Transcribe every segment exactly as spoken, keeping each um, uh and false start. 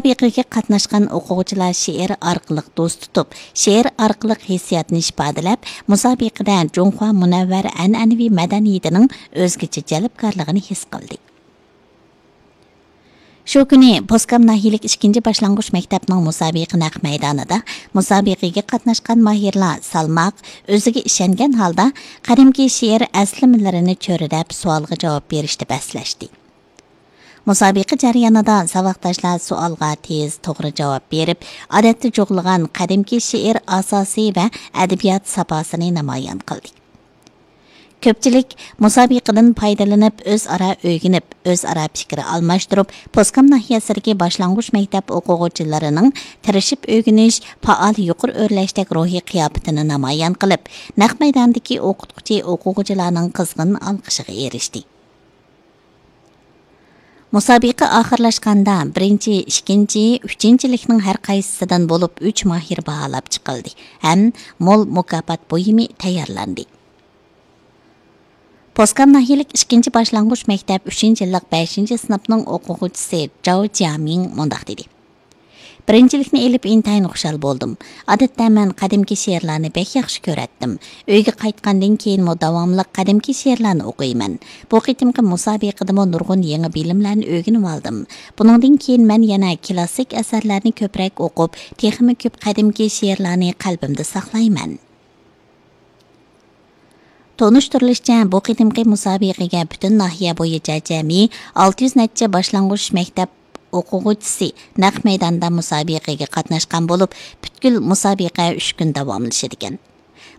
مۇسابىقىگە قاتناشقان ئوقۇغۇچىلار شېئىر ئارقىلىق دوست تۇتۇپ، شېئىر ئارقىلىق ھېسسىياتنى ئىپادىلەپ، مۇسابىقىدە جۇڭخۇا مۇنەۋۋەر ئەنئەنىۋى مەدەنىيىتىنىڭ ئۆزگىچە جەلپكارلىقىنى ھېس قىلدى. شۇ كۈنى پوسكام ناھىيەلىك ئىككىنچى باشلانغۇچ مەكتەپنىڭ مۇسابىقە نەق مەيدانىدا مۇسابىقىگە قاتناشقان ماھىرلار سالماق، ئۆزىگە ئىشەنگەن ھالدا قەدىمكى شېئىر ئەسلىمىلىرىنى چۆرىدەپ، سوئالغا جاۋاب بېرىشتە بەسلەشتى. مۇسابىقە جەريانىدا ساۋاقداشلار سوئالغا تېز، توغرا جاۋاب بېرىپ، ئادەتتە جۇغلىغان قەدىمكى شېئىر ئاساسى ۋە ئەدەبىيات ساپاسىنى نامايان قىلدى. كۆپچىلىك مۇسابىقىدىن پايدىلىنىپ، ئۆزئارا ئۆگىنىپ، ئۆزئارا پىكىر ئالماشتۇرۇپ، پوسكام ناھىيەسىدىكى باشلانغۇچ مەكتەپ ئوقۇغۇچىلىرىنىڭ تىرىشىپ ئۆگىنىش، پائال يۇقىرى ئۆرلەشتەك روھىي قىياپىتىنى نامايان قىلىپ، نەق مەيداندىكى ئوقۇتقۇچى ئوقۇغۇچىلارنىڭ قىزغىن ئالقىشىغا ئېرىشتى. مۇسابىقە ئاخىرلاشقاندا، بىرىنچى، ئىككىنچى، ئۈچىنچىلىكنىڭ ھەر قايسىسىدىن بولۇپ ئۈچ ماھىر باھالاپ چىقىلدى ھەم مول مۇكاپات بۇيۇمى تەييارلاندى. پوسكام ناھىيەلىك ئىككىنچى باشلانغۇچ مەكتەپ ئۈچىنچى يىللىق بەشىنچى سىنىپنىڭ ئوقۇغۇچىسى جاۋ جيامىڭ مۇنداق دېدى: بىرىنچىلىكنى ئېلىپ ئىنتايىن خۇشال بولدۇم. ئادەتتە مەن قەدىمكى شېئىرلارنى بەك ياخشى كۆرەتتىم. ئۆيگە قايتقاندىن كېيىنمۇ داۋاملىق قەدىمكى شېئىرلارنى ئوقۇيمەن. بۇ قېتىمقى مۇسابىقىدىمۇ نۇرغۇن يېڭى بىلىملەرنى ئۆگىنىۋالدىم. بۇنىڭدىن كېيىن مەن يەنە كىلاسسىك ئەسەرلەرنى كۆپرەك ئوقۇپ، تېخىمۇ كۆپ قەدىمكى شېئىرلارنى قەلبىمدە ساقلايمەن. تونۇشتۇرۇلۇشىچە، بۇ قېتىمقى مۇسابىقىگە پۈتۈن ناھىيە بويىچە جەمئىي ئالتە يۈز نەچچە باشلانغۇچ مەكتەپ ئوقۇغۇچىسى نەق مەيداندا مۇسابىقىگە قاتناشقان بولۇپ، پۈتكۈل مۇسابىقە ئۈچ كۈن داۋاملىشىدىكەن.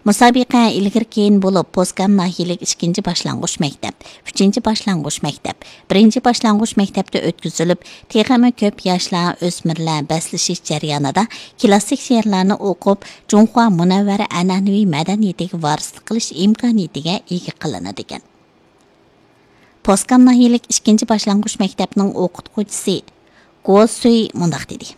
مۇسابىقە ئىلگىرى كېيىن بولۇپ، پوسكام ناھىيەلىك ئىككىنچى باشلانغۇچ مەكتەپ، ئۈچىنچى باشلانغۇچ مەكتەپ، بىرىنچى باشلانغۇچ مەكتەپتە ئۆتكۈزۈلۈپ، تېخىمۇ كۆپ ياشلار، ئۆسمۈرلەر بەسلىشىش جەريانىدا كىلاسسىك شېئىرلارنى ئوقۇپ، جۇڭخۇا مۇنەۋۋەر ئەنئەنىۋى مەدەنىيىتىگە ۋارىسلىق قىلىش ئىمكانىيىتىگە ئىگە قىلىنىدىكەن. پوسكام ناھىيەلىك ئىككىنچى باشلانغۇچ مەكتەپنىڭ ئوقۇتقۇچىسى گو سۈي مۇنداق دېدى: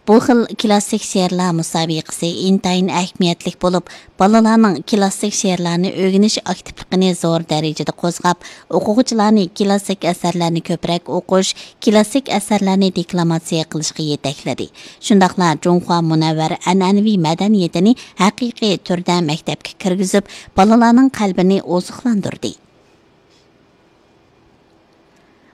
بۇ خىل كىلاسسىك شېئىرلار مۇسابىقىسى ئىنتايىن ئەھمىيەتلىك بولۇپ، بالىلارنىڭ كىلاسسىك شېئىرلارنى ئۆگىنىش ئاكتىپلىقىنى زور دەرىجىدە قوزغاپ، ئوقۇغۇچىلارنى كىلاسسىك ئەسەرلەرنى كۆپرەك ئوقۇش، كىلاسسىك ئەسەرلەرنى دېكلاماتسىيە قىلىشقا يېتەكلىدى. شۇنداقلا جۇڭخۇا مۇنەۋۋەر ئەنئەنىۋى مەدەنىيىتىنى ھەقىقىي تۈردە مەكتەپكە كىرگۈزۈپ، بالىلارنىڭ قەلبىنى ئوزۇقلاندۇردى.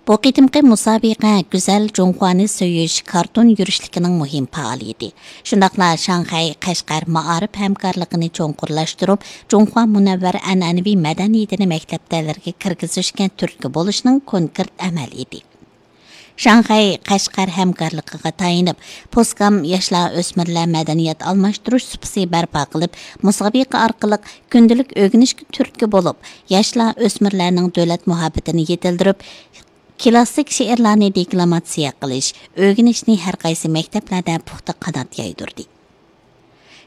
بۇ قېتىمقى مۇسابىقە گۈزەل جۇڭخۇانى سۆيۈش كارتون يۈرۈشلۈكىنىڭ مۇھىم پائالىيىتى، شۇنداقلا شاڭخەي، قەشقەر مائارىپ ھەمكارلىقىنى چوڭقۇرلاشتۇرۇپ، جۇڭخۇا مۇنەۋۋەر ئەنئەنىۋى مەدەنىيىتىنى مەكتەپلەرگە كىرگۈزۈشكە تۈرتكە بولۇشنىڭ كونكرېت ئەمەلىيىتى. شاڭخەي، قەشقەر ھەمكارلىقىغا تايىنىپ، پوسكام ياشلار ئۆسمۈرلەر مەدەنىيەت ئالماشتۇرۇش سۇپىسى بەرپا قىلىپ، مۇسابىقە ئارقىلىق كۈندىلىك ئۆگىنىشكە تۈرتكە بولۇپ، ياشلار ئۆسمۈرلەرنىڭ دۆلەت مۇھەببىتىنى يېتىلدۈرۈپ، كىلاسسىك شېئىرلارنى دېكلاماتسىيە قىلىش، ئۆگىنىشنى ھەر قايسى مەكتەپلەردە پۇختا قانات يايدۇردى.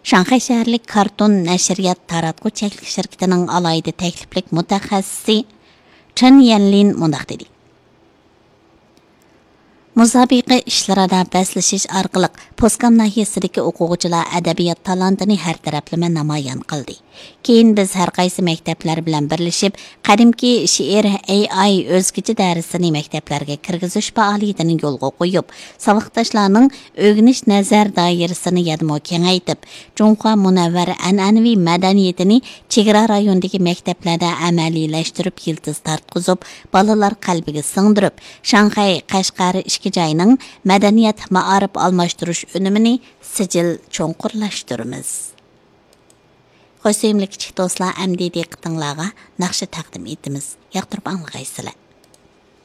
شاڭخەي شەھەرلىك كارتون نەشرىيات تاراتقۇ چەكلىك شىركىتىنىڭ ئالاھىدە تەكلىپلىك مۇتەخەسسىسى چېن يەنلىن مۇنداق دېدى: مۇسابىقە ئىشلىرىدا بەسلىشىش ئارقىلىق پوسكام ناھىيەسىدىكى ئوقۇغۇچىلار ئەدەبىيات تالانتىنى ھەر تەرەپلىمە نامايان قىلدى. كېيىن بىز ھەر قايسى مەكتەپلەر بىلەن بىرلىشىپ، قەدىمكى شېئىر ئەي ئاي ئۆزگىچە دەرسىنى مەكتەپلەرگە كىرگۈزۈش پائالىيىتىنى يولغا قويۇپ، ساۋاقداشلارنىڭ ئۆگىنىش نەزەر دائىرىسىنى يەنىمۇ كېڭەيتىپ، جۇڭخۇا مۇنەۋۋەر ئەنئەنىۋى مەدەنىيىتىنى چېگرا رايونىدىكى مەكتەپلەردە ئەمەلىيلەشتۈرۈپ، يىلتىز تارتقۇزۇپ، بالىلار قەلبىگە سىڭدۈرۈپ، شاڭخەي، قەشقەر ئىككى جاينىڭ مەدەنىيەت، مائارىپ ئالماشتۇرۇش ئۈنۈمىنى سىجىل چوڭقۇرلاشتۇرىمىز. خوش سۆيۈملۈك كىچىك دوستلار، ئەمدى دىققىتىڭلارغا ناخشا تەقدىم ئېتىمىز. ياقتۇرۇپ ئاڭلىغايسىلەر.